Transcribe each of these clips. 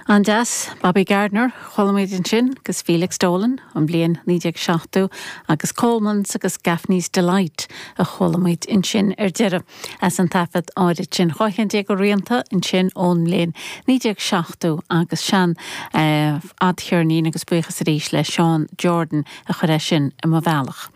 An-deas, Bobby Gardiner, chuala muid ansin, agus Felix Dolan, an bhliain 1970, agus Coleman's agus Gaffney's Delight a chuala muid ansin ar deireadh as an taifead áirid sin. 12 cheann de rianta ansin ón mbliain 1970 agus sean fhadcheirnín agus buíochas arís le Seán Jordan a chuir é sin i mo bhealach.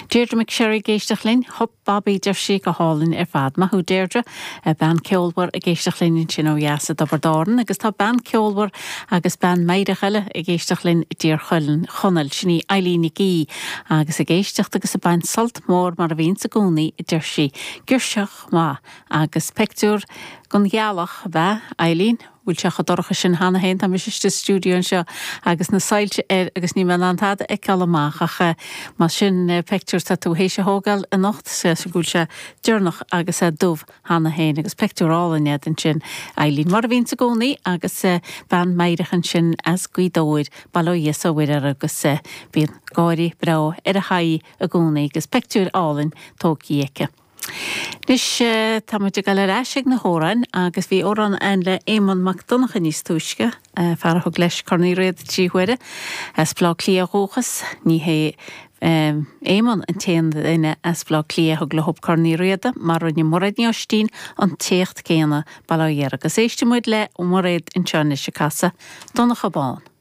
Deirdre McSherry ag éisteacht linn. Hup Bobby, deir sí, go hálainn ar fad. Maith thú Deirdre. Bean ceolmhar ag éisteacht linn ansin ó dheas i dTiobraid Árann agus tá bean ceolmhar agus bean meidhreach eile ag éisteacht linn i dTír Chonaill, sin í Eileen Nic Aoidh agus ag éisteacht agus ag baint sult mór mar a bhíonns i gcónaí a deir sí. Girseach mhaith agus peictiúr den ghealach ab ea Eileen? bhfuil sé chomh dorcha sin cheana féin, tá mise istigh sa stiúideo anseo agus na soilse air agus níl mé in ann tada a fheiceáil amach ach más sin peictiúr atá tú théis a thógáil anocht, is go bhfuil sé deireanach agus é dubh cheana féin agus peictiúr álainn é ansin Eileen, mar a bhíonns i gcónaí agus bean meidhreach ansin as Gaoth Dobhair, bail ó Dhia 's ó Mhuire uirthi agus bíonn gáirí breá ar a haghaidh i gcónaí agus peictiúir álainn tógtha aici. Anois tá muid ag dul ar ais ag na hamhráin agus bhí amhrán ann le Éamonn Mac Donncha níos túisce, fear a thug leis Corn Uí Riada 3 huaire, as Baile Átha Cliath ó dhúchas. Ní hé Éamonn an t-aon duine as Baile Átha Cliath a thug leo Corn Uí Riada mar rinne Mairéad Ní Oistín an t-éacht céanna, bail ó Dhia uirthi. Agus éistfidh muid le Mairéad anseo anois ag casadh Donncha Bán.